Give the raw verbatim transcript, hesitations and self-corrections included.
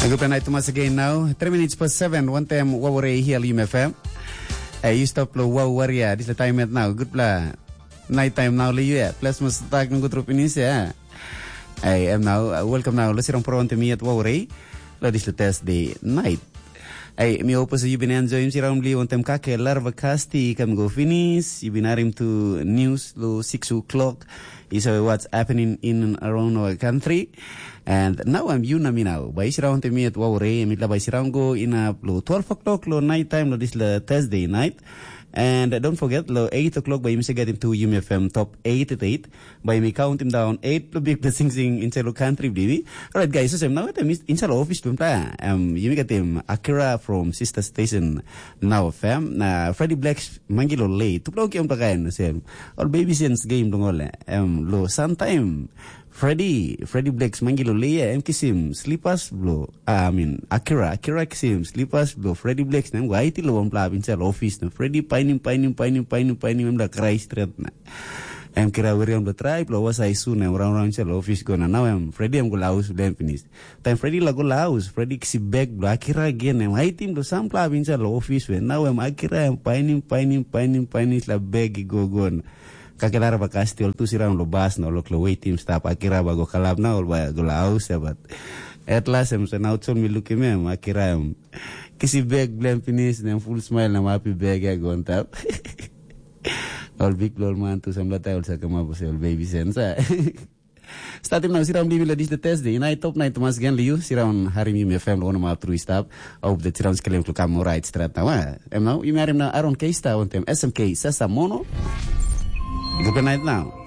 Gutpela nait tumas again now. Three minutes past seven, one time waware here Lim F M. Hey, you stop lo wow waria. This is the time at now. Gutpela night time now li you. Plus must tak nunggu trup ini ya. Hey, I'm now uh, welcome now. Let's run pro on me at waware. Lo this is the Thursday night. Hey, mi opus you been enjoying si round li on tem kake larva kasti kam go finish. You been arim to news lo six o'clock. Is uh, what's happening in and around our country. And now I'm you nami now. Bai siraun te miet wawre, mitla bai siraun go in a lo twelve o'clock lo night time lo this lo Thursday night. And uh, don't forget lo eight o'clock by Mister Getting to Yumi F M top eight at eight. By me count him down eight lo big blessing sing in lo country baby. Alright guys, so now at inside office pun pa. Um, you get him Akira from Sister Station now fam. Na Freddy Blacks mangilo late. Tu plau kiam pakain sem. All baby sense game dong ole. Um, lo sometime Freddy, Freddy Blacks mangilo leia em kisim slippers blo. Ah, I mean, Akira, Akira kisim slippers blo Freddy Blacks na em go aiti lo wanpela hap inside office na Freddy painim, painim, painim, painim, painim em da krai stret na. Em kira wiri em da trai blo was ai su na em raun raun inside office go na nau em Freddy em go la haus blo em pinis. Taim Freddy la go la haus, Freddy kisim bag blo Akira gen em aitim blo sampela hap inside office we nau em Akira em painim, painim, painim, painim sla bag i go go na. Kakelar ba kastil tu sira lo bas na lo klo waitim stap akira ba go kalap na ol ba go la haus ya bat. At last em so now chol mi lukim em akira em. Kisi bag blem pinis na em full smile na mapi bag ya go on top. Ol big ol man tu samla tai ol sa kama bose ol baby sensa. Statim na siram bibi la dis the Thursday. Inai top night mas gen liu siram harim yumi F M lo nama tru stap. Au the siram skelem klo kam right strat na wa. Em now yumi harim na Aaron K Star on tem S M K Sasa Mono. Good night now.